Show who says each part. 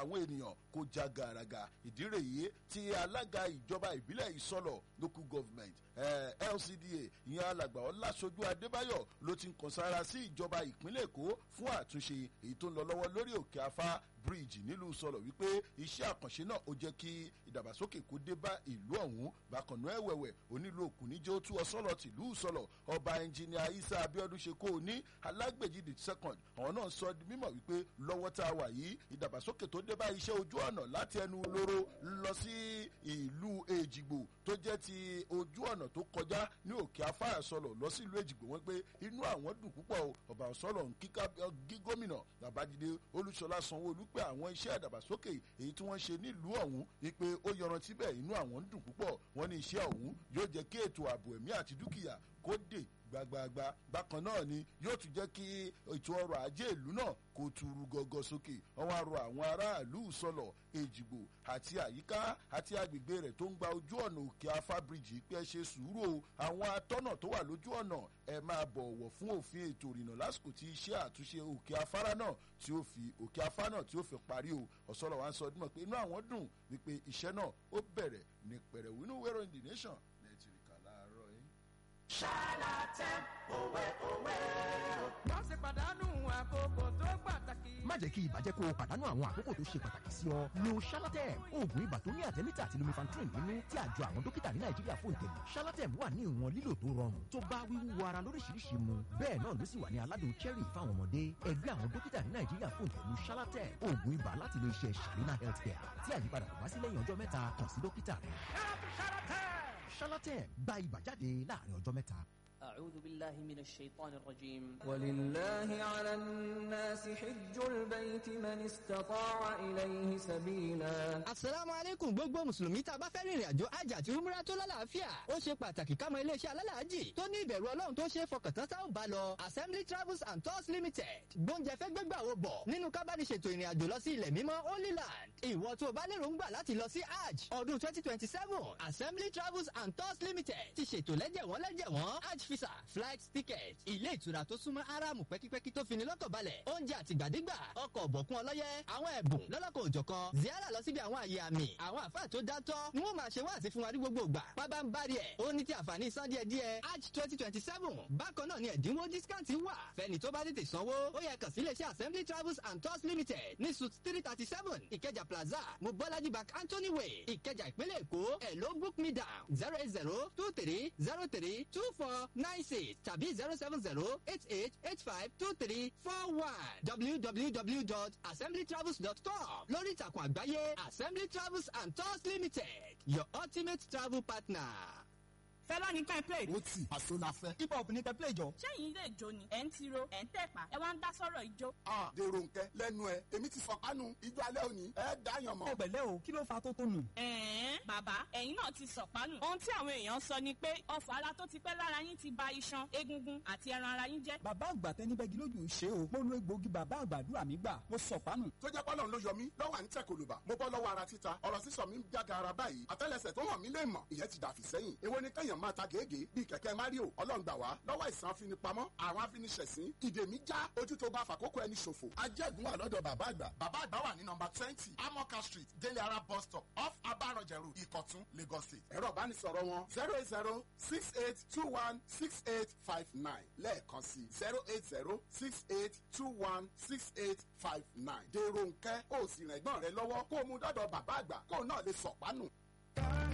Speaker 1: àwọn ènìyàn kó já gàràgà. Ìdí rèé tí alága ìjọba ìbílẹ̀ Ìsọlọ̀ local government LCDA, ìyẹn alàgbà Ọláṣojú Adébáyọ̀, ló ti ń kàn sára sí ìjọba ìpínlẹ̀ Èkó fún àtúnṣe èyí tó ń lọ lọ́wọ́ lórí Òkè Afá bridge nílùú Sọlọ̀, wípé iṣẹ́ àkànṣe náà ó jẹ́ kí ìdàgbàsókè kó dé bá ìlú ọ̀hún. Bákan náà ẹ̀wẹ̀wẹ̀, onílù Òkùnníjẹ́ ó tú ọsọ́lọ̀ tìlú Sọlọ̀, ọba ẹnjìnìà Isa Abiodun ṣe kó o ní Alágbèjì the second, àwọn náà sọ di mímọ̀ wípé lọ́wọ́ tá a wà yìí, ìdàgbàsókè tó dé bá iṣẹ́ ojú ọ̀nà láti ẹnu lóró lọ sí ìlú Èjìgbò, tó jẹ́ ti ojú ọ̀nà tó kọjá ní Òkè Afárá Sọlọ̀ lọ sí ìlú Èjìgbò, wọ́n pé inú àwọn dùn púpọ̀ o. Ọba Sọlọ̀ ń kíká gí gómìnà Babájídé Olúṣọlá Sanwó-Olú pé àwọn iṣẹ́ ìdàgbàsókè èyí tí wọ́n ṣe nílùú ọ̀hún ni pé ó yọrantí bẹ́ẹ̀, inú àwọn ń dùn púpọ̀. Wọ́n ní iṣẹ́ ọ̀hún yóò jẹ́ kí ètò ààbò ẹ̀mí àti dúkìá kó dé gbagbagba. Bákan náà ni yóò tún jẹ́ kí ètò ọrọ̀ ajé ìlú náà kó turu gọ́gọ́ sókè. Wọ́n wá rọ àwọn aráàlú Sọlọ̀, Èjìgbò àti àyíká àti agbègbè rẹ̀ tó ń gba ojú ọ̀nà Òkè Afá bíríjì pé ẹ ṣe sùúrù o. Àwọn atọ́nà tó wà lójú ọ̀nà, ẹ máa bọ̀wọ̀ fún òfin ètò ìrìnnà lásìkò tí iṣẹ́ àtúnṣe òkè afárá náà tí ó fi òkè afá náà tí ó fi parí o. Ọ̀sọ́lọ̀ wa ń sọ ọdún mọ̀ pé inú àwọn dùn wípé iṣẹ́ náà ó bẹ̀rẹ̀ ní pẹ̀rẹ̀wò. Inú wẹ́rọ in the nation nàìjíríà láàárọ̀ yìí.
Speaker 2: Ṣálátẹ̀ òwe òwe o.
Speaker 3: Wọ́n ṣe pàdánù àkókò tó pàtàkì.
Speaker 4: Má jẹ́ kí ibà jẹ́ kó o pàdánù àwọn àkókò tó ṣe pàtàkì sí ọ. Lo Shalatem, oògùn ibà tó ní àtẹ́mítà àti lumefantrine nínú tí àjọ àwọn dókítà ní Nàìjíríà fún ìtẹ̀lé. Shalatem wà ní ìwọ̀n lílò tó rọrùn tó bá wíwú ara lóríṣiríṣi mu. Bẹ́ẹ̀ náà ló sì wà ní aládùn cherry fáwọn ọmọdé. Ẹgbẹ́ àwọn dókítà ní Nàìjíríà fún ìtẹ̀lú Shalatem, oògùn ibà láti ilé iṣẹ́ Shalina Healthcare. Tí àyípadà kò bá sí lẹ́yìn ọjọ́ 3, kàn sí dókítà rẹ̀. Shalatem, gba ibà jáde láàrin ọjọ́ 3.
Speaker 5: أعوذ بالله من الشيطان الرجيم.
Speaker 6: ولله على الناس حج البيت من استطاع إليه سبيلا.
Speaker 7: Asalaamu aleykum gbogbo mùsùlùmí. Tá a bá fẹ́ rìnrìn àjò hajj àti umrah tó lálàáfíà, ó ṣe pàtàkì ká mọ iléeṣẹ́ alálàájì tó ní ìbẹ̀rù Ọlọ́run tó ṣe é fọkàn tán tá ò bá lọ. Assembly Travels and Tours Limited gbóúnjẹ fẹ́ gbégbà wo bọ̀ nínú kábániṣètò ìrìn àjò lọ sí ilẹ̀ mímọ́, Holy Land. Ìwọ tó o bá lérò ń gbà láti lọ sí hajj ọdún 2027, Assembly Travels and Tours Limited ti ṣètò lẹ́jẹ̀wọ́n lẹ́jẹ̀wọ́n hajj visa, flight ticket, ilé ìtura tó súnmọ́ Áráàmù pẹ́kípẹ́kí tó fini lọ́kàn balẹ̀, oúnjẹ àtìgbàdégbà, ọkọ̀ ọ̀bọ̀kún ọlọ́yẹ, àwọn ẹ̀bùn lọ́lọ́kọ̀ òjọ̀kan, ziara lọ síbi àwọn àyè àmì. Àwọn àfáà tó dátọ́ ni wọ́n máa ṣe wáàsí fún wa ní gbogbo ìgbà. Pábá ń bari ẹ̀ ó ní ti àǹfààní san díẹ̀ díẹ̀ hajj 2027. Bákan náà ni ẹ̀dínwó discount wà fẹ́ni tó bá tètè sanwó. Ó yẹ kàn sí iléeṣẹ́ Assembly Travels and Tours Limited ní suite 337, Ìkẹjà Plaza, Mobolaji Bank Anthony Way, Ìkẹjà, ìpínlẹ̀ Èkó. Ẹ̀ ló book me down 08023032496 tàbí 07088852341, www.assemblytravels.com lórí ìtàkùn àgbáyé. Assembly Travels and Tours Limited, your ultimate travel partner.
Speaker 8: Fẹlá ní ká ẹ play.
Speaker 9: Ó tì àṣọ la fẹ́.
Speaker 10: Hip hop ní kẹ́ play jọ.
Speaker 8: Ṣẹ́yìn ilé ìjó ni ẹ̀ ń tiro, ẹ̀ ń tẹ̀pá, ẹ wá ń dá sọ̀rọ̀ ìjó.
Speaker 9: A dèrò nkẹ lẹ́nu ẹ, èmi ti sọ̀kánu ijó alẹ́ òní, ẹ dáyàn mọ́.
Speaker 10: Ẹ pẹ̀lẹ́ o, kí ló fa tó tó nù?
Speaker 8: Ẹ̀ẹ́n, bàbá, ẹ̀yin náà ti sọ̀pánù. Ohun tí àwọn èèyàn sọ ni pé ọfọ̀ ara tó ti pẹ́ lára yín ti ba iṣan, egungun àti ẹran ara yín jẹ́.
Speaker 10: Bàbá àgbà tẹnibẹ́gi lójú ṣe o. Mo lo egbòogi bàbá àgbàdúrà mi gbà, mo sọ̀pánù.
Speaker 9: Tó jẹ́ pọ́lọ́n ló yọ mí lọ́wọ́ à ń tẹ̀ kòlùbà. Mo bọ́ lọ́wọ́ ara títa, ọ̀rọ̀ sísọ mi ń jága ara báyìí. Àtẹ́lẹsẹ̀ tó hàn mí lè mọ̀, ìyẹn ti dàfí sẹ́yìn. Èwo ni kẹ́yàn máa ta gègé bíi kẹ̀kẹ́ Mario? Ọlọ́ngbà wá lọ́wọ́ ìsàn afinipamọ́ àwọn afiniṣẹ̀sín. Ìdè mi já, ojú tó bá fàkókò ẹni ṣòfò. Ajẹ́gun wà lọ́dọ̀ bàbá àgbà. Bàbá àgbà wà ní nọmba 20, Amoka Street, Délé Ara bus stop, off Abarọ̀jẹ̀ Road, Ìkọ̀tún, Lagos State. Ẹ̀rọ ìbánisọ̀rọ̀ wọn 08068216859, lẹ́ẹ̀kan sí 08068216859. Dèrò nkẹ́, ó sì rẹ̀gbọ́n rẹ lọ́wọ́ kó o mú dọ́dọ̀ bàbá àgbà kó o náà lè sọ̀pánù.